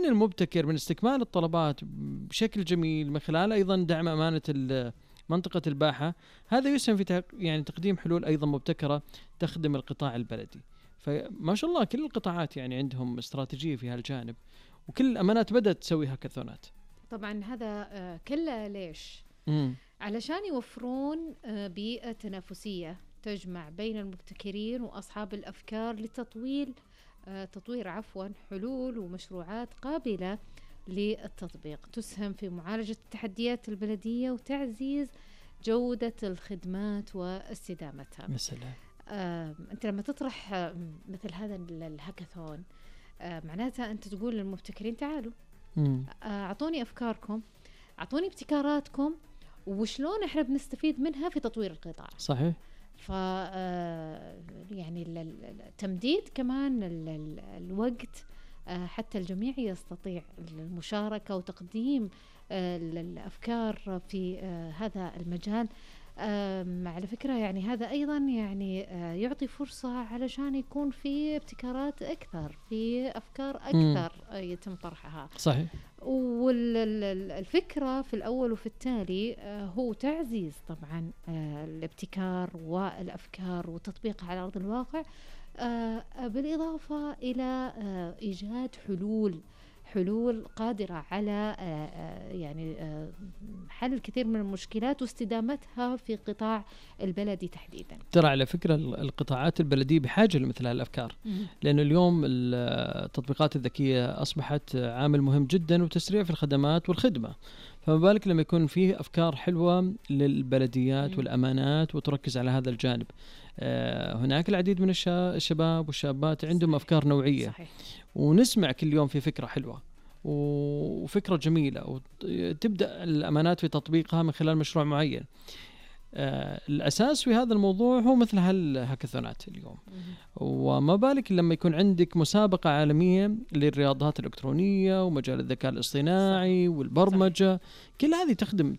التمكين المبتكر من استكمال الطلبات بشكل جميل من خلال أيضا دعم أمانة منطقة الباحة، هذا يسهم في يعني تقديم حلول أيضا مبتكرة تخدم القطاع البلدي. فما شاء الله كل القطاعات يعني عندهم استراتيجية في هالجانب، وكل الأمانات بدأت تسوي هاكاثونات. طبعا هذا كله ليش؟ علشان يوفرون بيئة تنافسية تجمع بين المبتكرين وأصحاب الأفكار لتطوير حلول ومشروعات قابلة للتطبيق تسهم في معالجة التحديات البلدية وتعزيز جودة الخدمات واستدامتها. مثلا أنت لما تطرح مثل هذا الهاكاثون معناتها أنت تقول للمبتكرين تعالوا أعطوني أفكاركم، أعطوني ابتكاراتكم، وشلون إحنا بنستفيد منها في تطوير القطاع. صحيح. يعني التمديد كمان الوقت حتى الجميع يستطيع المشاركة وتقديم الأفكار في هذا المجال. على فكرة يعني هذا أيضا يعني يعطي فرصة علشان يكون في ابتكارات أكثر، في أفكار أكثر يتم طرحها. صحيح. والفكرة في الأول وفي التالي هو تعزيز طبعا الابتكار والأفكار وتطبيقها على أرض الواقع، بالإضافة إلى إيجاد حلول قادرة على يعني حل الكثير من المشكلات واستدامتها في قطاع البلدي تحديدا. ترى على فكرة القطاعات البلدية بحاجة لمثل هالأفكار، لأنه اليوم التطبيقات الذكية أصبحت عامل مهم جدا وتسريع في الخدمات والخدمة، فما بالك لما يكون فيه أفكار حلوة للبلديات والأمانات وتركز على هذا الجانب. هناك العديد من الشباب والشابات عندهم أفكار نوعية. صحيح. ونسمع كل يوم في فكرة حلوة وفكرة جميلة، وتبدأ الأمانات في تطبيقها من خلال مشروع معين. الأساس في هذا الموضوع هو مثل هالهاكاثونات اليوم. وما بالك لما يكون عندك مسابقة عالمية للرياضات الإلكترونية ومجال الذكاء الاصطناعي والبرمجة. كل هذه تخدم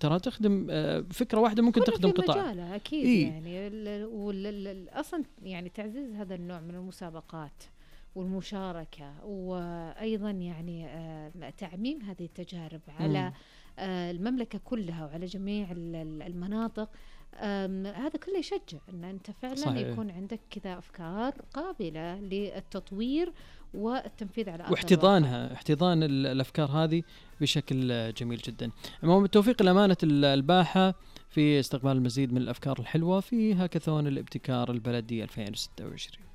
فكرة واحدة ممكن تخدم قطاع أكيد. يعني أصلا يعني تعزيز هذا النوع من المسابقات والمشاركة، وأيضا يعني تعميم هذه التجارب على المملكة كلها وعلى جميع المناطق. هذا كله يشجع أن أنت فعلا صحيح. يكون عندك كذا أفكار قابلة للتطوير والتنفيذ على احتضان الأفكار هذه بشكل جميل جدا. المهم التوفيق لأمانة الباحة في استقبال المزيد من الأفكار الحلوة في هاكاثون الابتكار البلدي 2026.